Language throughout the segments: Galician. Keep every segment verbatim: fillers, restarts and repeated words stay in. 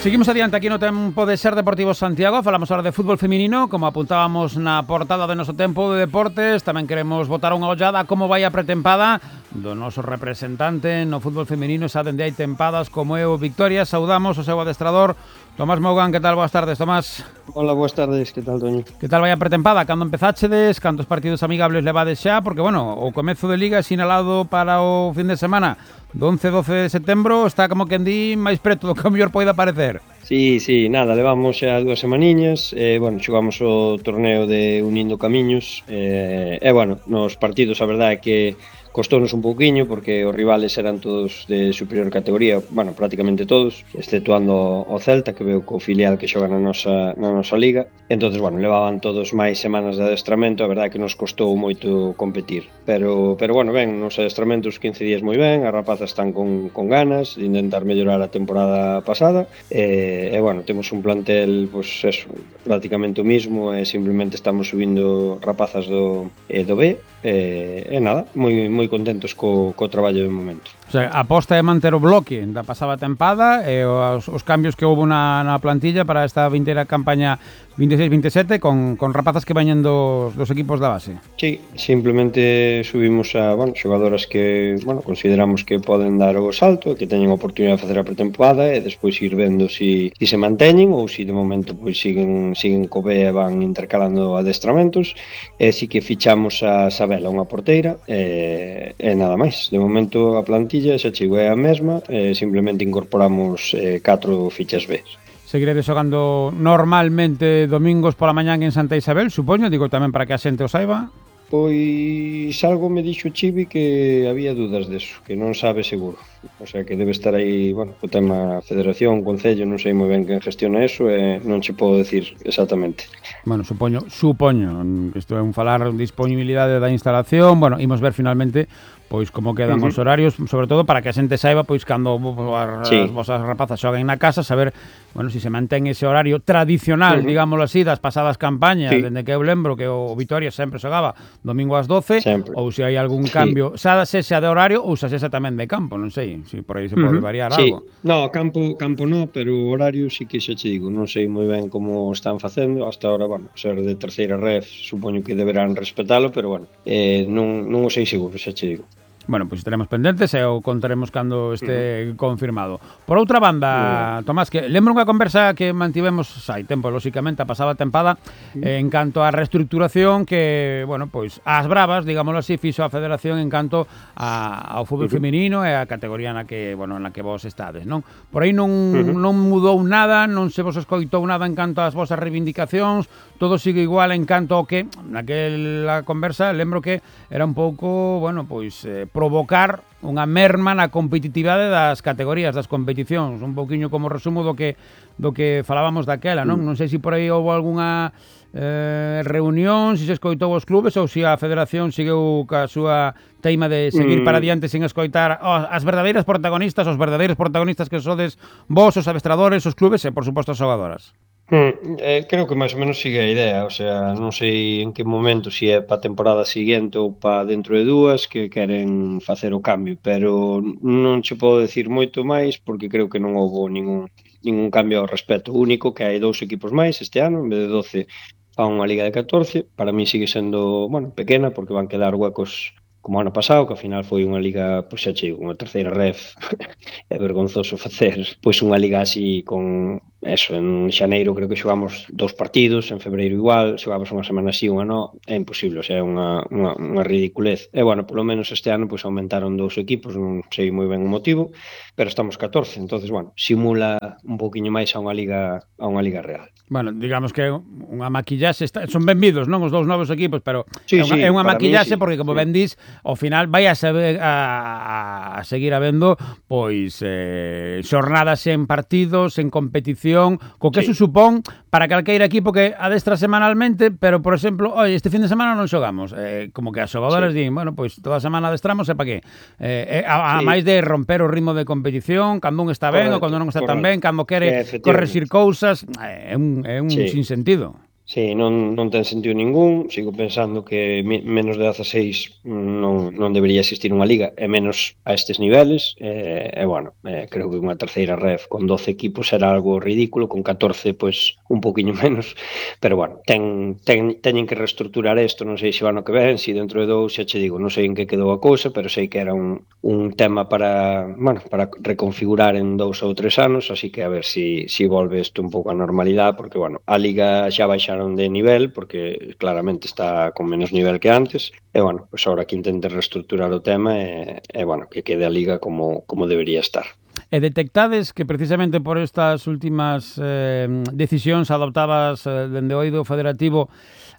Seguimos adiante aquí no Tempo de Ser Deportivo Santiago. Falamos ahora de fútbol feminino, como apuntábamos na portada de noso Tempo de Deportes. Tamén queremos botar unha ollada a como vai a pretempada do noso representante no fútbol feminino, xa dende hai tempadas como é o Victoria. Saudamos o seu adestrador Tomás Mogán. Que tal? Boas tardes, Tomás. Hola, boas tardes, que tal, Toño? Que tal vai a pretempada? Cando empezáchedes? Cantos partidos amigables levades xa? Porque, bueno, o comezo de Liga sinalado para o fin de semana do once e doce de setembro está como que en di máis preto do que o mellor poida parecer. Sí, sí, nada, levamos xa dúas semaniñas, eh, bueno, xogamos o torneo de Unindo Camiños, eh, e, bueno, nos partidos a verdade é que costounos un pouquiño porque os rivales eran todos de superior categoría, bueno, prácticamente todos, exceptuando o Celta, que veo co filial que xoga na nosa, na nosa liga. Entonces, bueno, levaban todos máis semanas de adestramento, a verdade é que nos costou moito competir. Pero, pero bueno, ben, nos adestramentos quince días moi ben, as rapazas están con, con ganas de intentar mellorar a temporada pasada, e, e bueno, temos un plantel, pues eso, prácticamente o mismo, e simplemente estamos subindo rapazas do, e do B, e, e nada, moi, moi contentos co, co traballo de momento. O sea, a aposta é manter o bloque da pasada tempada e os, os cambios que houve na, na plantilla para esta vindeira campaña veintiséis veintisiete con, con rapazas que veñen dos, dos equipos da base. Sí, simplemente subimos a, bueno, xogadoras que, bueno, consideramos que poden dar o salto, que teñen a oportunidade de facer a pretempada e despois ir vendo si, si se manteñen ou si de momento pois siguen siguen co B e van intercalando adestramentos. E si que fichamos a Sabela, unha porteira, e, e nada máis. De momento a plantilla xa chegou a mesma, e simplemente incorporamos eh, catro fichas B. Seguiredes xogando normalmente domingos pola mañán en Santa Isabel, supoño, digo tamén para que a xente o saiba. Pois algo me dixo Chivi que había dudas deso, que non sabe seguro. O sea, que debe estar aí, bueno, o tema Federación, Concello, non sei moi ben quen gestiona eso e non che podo decir exactamente. Bueno, supoño, supoño, isto é un falar de disponibilidade da instalación, bueno, imos ver finalmente pois como quedan uh-huh. os horarios, sobre todo para que a xente saiba pois cando as, sí. as vosas rapazas xoguen na casa, saber, bueno, si se mantén ese horario tradicional, uh-huh. digámoslo así, das pasadas campañas, sí. dende que eu lembro que o Vitoria sempre xogaba domingo ás doce, sempre. Ou se hai algún cambio, sí. xa sexa de horario ou xa sexa tamén de campo, non sei, se por aí se pode uh-huh. variar sí. algo. No, campo campo no, pero horario sí que xa che digo, non sei moi ben como están facendo, hasta ahora, bueno, ser de terceira ref, supoño que deberán respetalo, pero bueno, eh, non, non o sei seguro, xa che digo. Bueno, pois pues estaremos pendentes e o contaremos cando este uh-huh. confirmado. Por outra banda, uh-huh. Tomás, que lembro unha conversa que mantivemos hai tempo, lóxicamente, a pasada tempada, uh-huh. eh, en canto á reestructuración que, bueno, pois, ás bravas, digámoslo así, fixo a Federación en canto a, ao fútbol uh-huh. feminino e a categoría na que, bueno, na que vos estades, non? Por aí non, uh-huh. non mudou nada, non se vos escoitou nada en canto ás vosas reivindicacións, todo sigue igual en canto ao que, naquela conversa, lembro que era un pouco, bueno, pois, eh, provocar unha merma na competitividade das categorías, das competicións, un pouquiño como resumo do que do que falábamos daquela, non? Non sei se por aí houve algunha eh, reunión, se se escoitou os clubes ou se a Federación seguiu ca súa teima de seguir mm. para diante sin escoitar oh, as verdadeiras protagonistas, os verdadeiros protagonistas que sodes vos, os adestradores, os clubes e, por suposto, as xogadoras. Hmm, eh, creo que máis ou menos sigue a idea, o sea, non sei en que momento, se si é para a temporada seguinte ou para dentro de dúas que queren facer o cambio, pero non che podo decir moito máis porque creo que non houve ningún, ningún cambio ao respecto. O único que hai dous equipos máis este ano, en vez de doce a unha liga de catorce, para mí sigue sendo, bueno, pequena porque van quedar huecos como ano pasado, que ao final foi unha liga, pois xa chego, unha terceira ref, é vergonzoso facer, pois unha liga así con, eso, en xaneiro creo que xogamos dous partidos, en febreiro igual, xogamos unha semana así, unha no, é imposible, o sea, é unha, unha, unha ridiculez. E, bueno, polo menos este ano, pois aumentaron dous equipos, non sei moi ben o motivo, pero estamos catorce, entonces, bueno, simula un pouquiño máis a unha liga, a unha liga real. Bueno, digamos que unha maquillaxe, está, son benvidos, non, os dous novos equipos, pero sí, é unha, sí, é unha maquillaxe sí, porque, como sí. ben dis, ao final vai a, saber, a, a seguir habendo pois eh, xornadas en partidos, en competición, co que sí. eso supón para calqueira equipo que adestra semanalmente, pero, por exemplo, oi, este fin de semana non xogamos. Eh, como que as xogadoras sí. din, bueno, pois toda a semana adestramos e para que? Eh, a, a sí. máis de romper o ritmo de competición, cando un está ben correcto, ou cando non está correcto. tan ben, cando quere corregir cousas, é un, é un sí. sinsentido. Sí, non, non ten sentido ningún. Sigo pensando que mi, menos de dezaseis non, non debería existir unha liga, e menos a estes niveles. E, e bueno, eh, creo que unha terceira ref con doce equipos era algo ridículo, con catorce, pois, un poquinho menos. Pero bueno, ten, ten, teñen que reestructurar isto, non sei se o ano que ven, se dentro de dous, xa che digo, non sei en que quedou a cousa, pero sei que era un, un tema para, bueno, para reconfigurar en dous ou tres anos, así que a ver se si, si volve isto un pouco a normalidade, porque, bueno, a liga xa baixaron de nivel, porque claramente está con menos nivel que antes, e, bueno, pois agora que intente reestructurar o tema e, e bueno, que quede a liga como, como debería estar. E detectades que precisamente por estas últimas eh, decisións adoptadas eh, dende o eido federativo,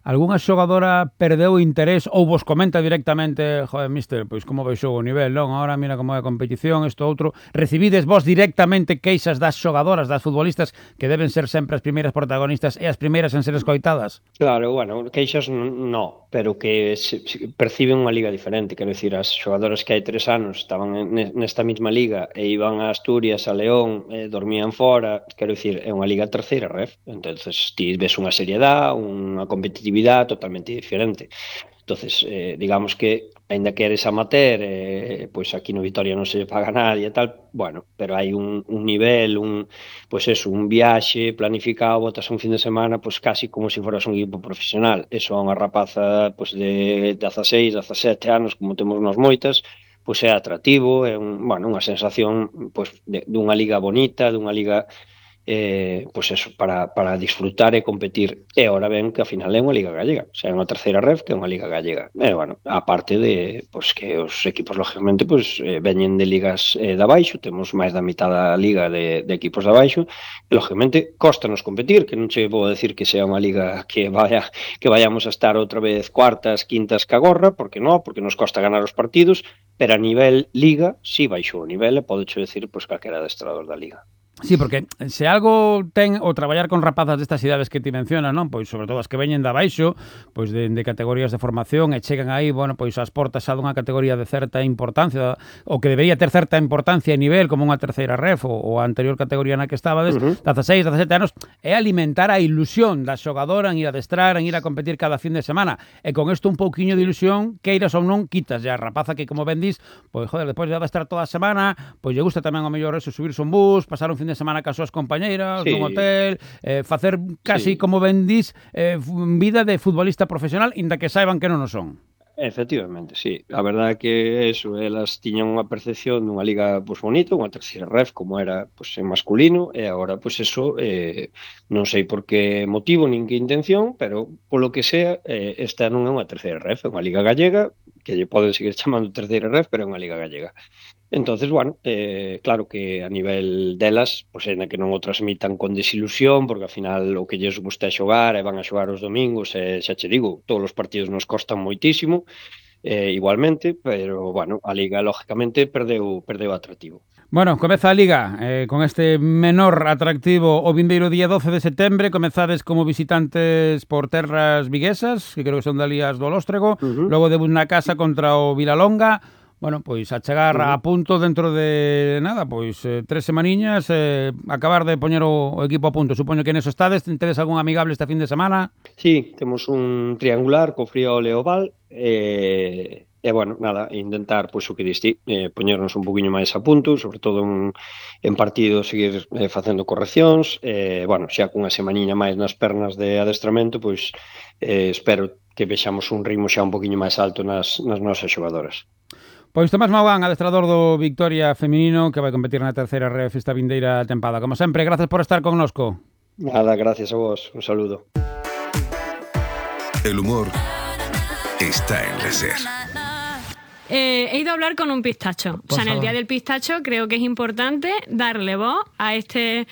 algunha xogadora perdeu interés ou vos comenta directamente, joder, mister, pois como baixou o nivel, non? Ahora mira como é a competición, isto outro. Recibides vos directamente queixas das xogadoras, das futbolistas, que deben ser sempre as primeiras protagonistas e as primeiras en ser escoitadas? Claro, bueno, queixas no, pero que se, se perciben unha liga diferente, quero dicir, as xogadoras que hai tres anos estaban nesta mesma liga e iban a Asturias, a León, e dormían fora, quero dicir, é unha liga terceira ref, entonces ti ves unha seriedade, unha competitividade totalmente diferente. Entonces, eh, digamos que, aínda que eres amateur, eh, pois aquí no Vitoria non se lle paga nadie e tal, bueno, pero hai un, un nivel, un, pois eso, un viaxe planificado, botas un fin de semana, pois casi como se foras un equipo profesional. Eso a unha rapaza pois de dezaseis, dezasete anos, como temos nós moitas, pois é atractivo, é un, bueno, unha sensación pois de, dunha liga bonita, dunha liga eh, pois eso, para, para disfrutar e competir. E ahora ven que ao final é unha liga gallega, o sea, é unha terceira ref que é unha liga gallega. E, bueno, aparte de pois, que os equipos, lógicamente, pois, eh, veñen de ligas eh, de abaixo, temos máis da mitad da liga de, de equipos de abaixo, e, lógicamente, costanos competir, que non che vou decir que sea unha liga que vaya que vayamos a estar outra vez cuartas, quintas que agorra, porque non, porque nos costa ganar os partidos, pero a nivel liga, si sí baixou o nivel, e podecho decir, pois, calquera adestrador da liga. Sí, porque se algo ten o traballar con rapazas destas idades que ti mencionas, non? Pois sobre todo as que veñen de abaixo, pois de, de categorías de formación e chegan aí, bueno, pois ás portas xa dunha categoría de certa importancia, ou que debería ter certa importancia e nivel como unha terceira ref ou, ou a anterior categoría na que estabades, uh-huh. dezaseis, dezasete anos, é alimentar a ilusión da xogadora en ir a adestrar, en ir a competir cada fin de semana. E con isto un pouquiño de ilusión, queiras ou non, quitas ya a rapaza que, como ben dís, pois, joder, despois de adestrar toda a semana, pois lle gusta tamén ao mellor eso, subirse un bus, pasar un fin de semana cas súas compañeiras, sí, nun hotel, eh, facer casi, sí, como ben dís, eh, vida de futbolista profesional, inda que saiban que non o son. Efectivamente, sí. A verdade é que eso, elas tiñan unha percepción dunha liga pois bonita, unha terceira ref como era pois en masculino, e agora pois eso eh, non sei por que motivo nin que intención, pero polo que sea, eh, esta non é unha terceira ref, é unha liga gallega, que lle poden seguir chamando terceira ref, pero é unha liga gallega. Entonces, bueno, eh, claro que a nivel delas, pois é na que non o transmitan con desilusión, porque ao final o que lles gusta é xogar, e van a xogar os domingos, e xa che digo, todos os partidos nos costan moitísimo, eh, igualmente, pero, bueno, a Liga, lógicamente, perdeu, perdeu atractivo. Bueno, comeza a Liga eh, con este menor atractivo o vindeiro día doce de setembro. Comezades como visitantes por terras viguesas, que creo que son de Alías do Lóstrego, uh-huh. Logo debut na casa contra o Vilalonga. Bueno, pois a chegar uh-huh. a punto dentro de nada, pois eh, tres semaniñas, eh, acabar de poñer o, o equipo a punto. Supoño que neso estades, tedes algún amigable este fin de semana? Sí, temos un triangular co Friol e o Val, e, e bueno, nada, intentar, pois o que diste, eh, poñernos un poquinho máis a punto, sobre todo en, en partido seguir eh, facendo correccións, e, bueno, xa cunha semaniña máis nas pernas de adestramento, pois eh, espero que vexamos un ritmo xa un poquinho máis alto nas, nas nosas xogadoras. Pois Tomás Maugán, adestrador do Victoria feminino, que vai competir na terceira ref esta vindeira tempada. Como sempre, gracias por estar connosco. Nada, gracias a vos. Un saludo. El humor está en la SER. Eh, he ido a hablar con un pistacho. Por o sea, en el Día del Pistacho creo que es importante darle voz a este